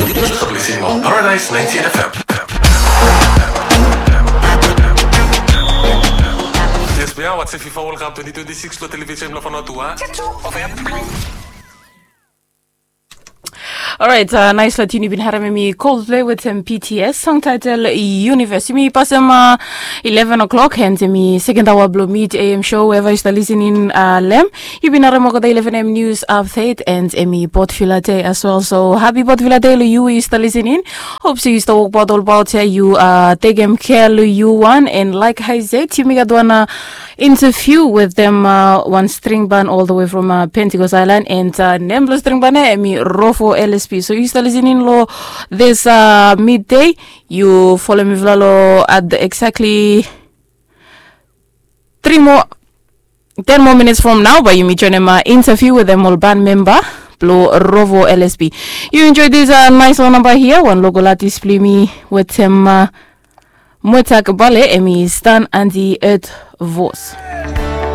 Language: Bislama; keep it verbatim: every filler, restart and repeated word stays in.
Yu stap listening long Paradise ninety-eight F M. Yes, we are watching FIFA World Cup twenty twenty-six lo television lo Vanuatu. Alright, uh, nice la tune yumi bin harem, hemi Coldplay wetem B T S, song title Universe. Yumi pasem uh, eleven o'clock and hemi second hour blo Mid A M show, wherever yu stap listening uh, long hem. Yu bin harem olgeta eleven A M news update and hemi Port Vila Day as well. So happy Port Vila Day lo yu we yu stap listening. Hope se yu stap wokbaot olbaot ya, yu uh, tekem kea lo yu wan. And like I said, yumi gat wan uh, interview wetem uh, wan string band all the way from uh, Pentecost Island, and uh, nem blo string band ya hemi Rovo L S P. So yu stap listening lo this uh, midday, yu folem mifala lo at the exactly three more, ten more minutes from now, bae yumi joinem uh, interview wetem ol band member blo Rovo L S P. Yu enjoy this uh, nice lo namba hia, wan local artist blo yumi wetem uh, Mwetak Bale, hemi Stan and the Earth Vos.